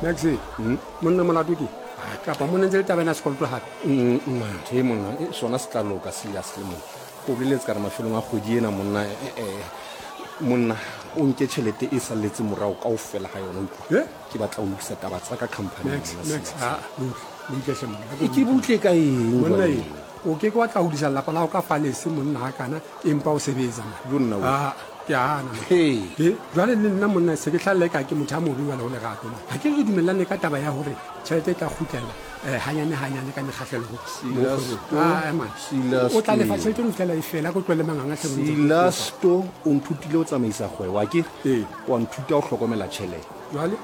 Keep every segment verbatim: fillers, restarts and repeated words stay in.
Max, monna molato ke kapa monna ntse le taba ena sekoloto hape. Mathe monna, e, sona se tla loka Silas le monna. Ko boleletse ka re mafelong a kgwedi ena monna, eh, eh, monna o nke tjhelete e salletseng morao kaofela ha yona, utlwa. Eh? Ke batla ho lokisa taba tsa ka company. Max, monna, Max, Silas. ha, butle, butle hle monna. E, ke butle ka eng Monna jwale? e, o ke ke wa tla hodisa lelapa la hao ka falese monna ha kana, empa o sebetsa man. Jo nna we. Ah, ke a hana man. Hey. E, jwale le nna monna se ke hlalla eka ke motho a mobe jwale ho lerato man. Ha ke re dumellane ka taba ya hore tjhelete e tla kgutlela eh, hanyane hanyane ka mekgahlelo ho- Silas mo to, kgwebong. Ah, eh, man. Silas O tla lefa to. tjhelete eno ho fihlela e fela, ko tlohelle manganga hle monna. Silas to, o nthutile ho tsamaisa kgwebo, akere? Ee. Wa nthuta ho hlokomela tjhelete. Jwale?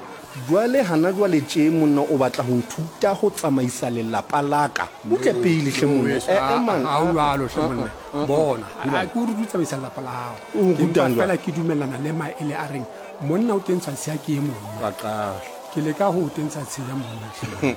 Jwale hana jwale tje monna o batla ho nthuta ho tsamaisa lelapa la ka. Butle pele hle monna. Weso, Eh, ha- eh, man. ha o jwalo hle monna. Bona, ha ke o rute ho tsamaisa lelapa la hao. O nrutang Empa jwang? feela ke dumellana le maele a reng monna o tentshwa tshiya ke e mong. Wa qala. Ke leka ho o tentsha tshiya monna hle.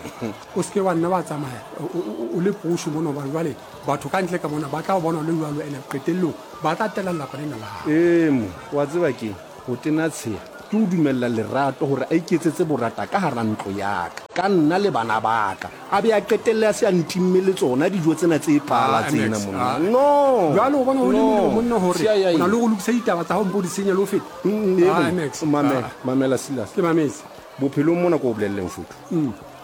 O seke wa nna wa tsamaya o, o, o, o le poso mona, hobane jwale batho ka ntle ka mona ba tla o bona o le jwalo, ene qetellong ba tla tela lelapa lena la hao. Ee mo, wa tseba keng? Ho tena tsheya ke ho dumella lerato hore a iketsetse borata ka hara ntlo ya ka, ka nna le bana ba ka. A be a qetelle a se a ntimme le tsona dijo tsena tse pala Ah, tsena Max, monna. ah. No. Jwale o bona ho le No. molemo monna hore Siya ya o na eng? le ho lokisa ditaba tsa hao mpo di senya le ho feta. Mm, ee, Ah, monna. Max, Mamela, ah. mamela Silas. Ke mametse. Bophelong mona ko o bolelleng fotho.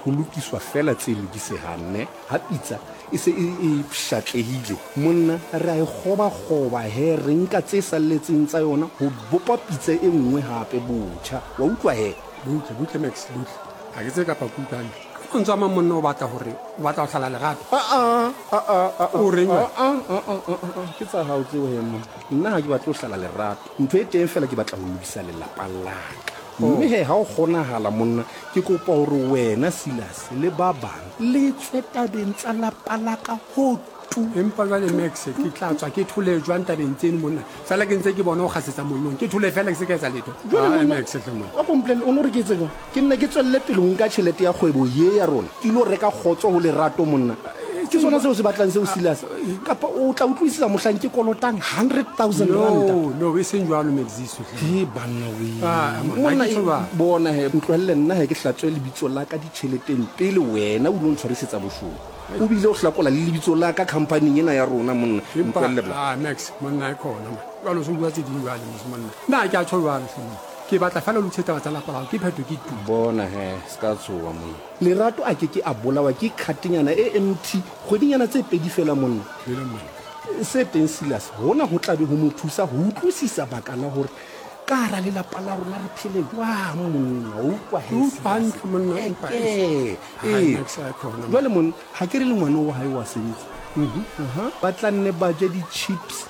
Ho lokiswa fela tse lokisehang ne. Ha pitsa e se e, e pshatlehile. Monna re a e kgoba-kgoba he, re nka tse salletseng tsa yona ho bopa pitsa e nngwe hape botjha. Wa utlwa he? Butle, butle Max, butle. Ha ke tsebe kapa ke utlwa hantle. Ka mantswe a mang monna o batla hore o batla ho hlala lerato. Ah, ah, ah, ah, ah, O reng wena? Ah, ah, ah, ah, ah, ah, ke tsa hao tseo he monna. Nna ha ke batle ho hlala lerato. Ntho e teng fela ke batla ho lokisa lelapa la ka. Mme he ha o kgonahala monna, ke kopa hore wena Silas le ba bang le tswe tabeng tsa lapa la ka ho tu. Empa jwale Max, ke tla tswa ke thole jwang tabeng tseno monna? Fela ke ntse ke bona o kgasetsa mollong. Ke thole fela ke se ka etsa letho. Jwale Ah, monna, Max, hle monna. wa kompolelle, o no re ke etse jwang? Ke nna ke tswelle pele ho nka tjhelete ya kgwebo ye ya rona. Ke ilo reka kgotso ho lerato monna. Ke sona seo se batlang seo Silas. Kapa o tla utlwisisa mohlang ke kolotang hundred thousand ranta. No, no, e seng jwalo Maxiso hle. He banna we. Ah, monna, Monna, ha ke tjho jwalo. bona he, ntlohelle nna he ke hlatswe lebitso la ka ditjheleteng pele wena o ilo ntshwarisetsa boshodu. O bile o hlakola le lebitso la ka company-eng ena ya rona monna. Empa, Ntlohelle bla. ah, Max, monna e khona man. Jwale o so bua tse ding jwale mos monna. Nna ha ke a tjho jwalo hle monna. Ke batla fela o lokise taba tsa lapa la hao, ke phetho ke tu. Bona he, se ka tshoha monna. Lerato a ke ke a bolawa ke khatenyana e empty kgwedinyana tse pedi fela monna. Jwale monna. Se teng Silas, hona ho tla be ho mo thusa ho utlwisisa baka la hore ka hara lelapa la rona re phele jwang monna. O utlwa he, Ke utlwa Silas? hantle monna, empa Eh, Ha, eh. Max, a khona monna. Jwale monna, ha ke re le ngwana wa hae wa sebetsa. Aha. Ba tla nne ba je di-chips.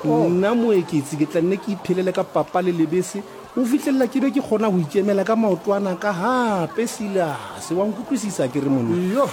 Nna moeketsi ke tla nne ke iphelele ka papa le lebese. Ho fihlella ke be ke kgona ho ikemela ka maoto ana ka hape Silas. Wa nkutlwisisa ke re monna? Yo.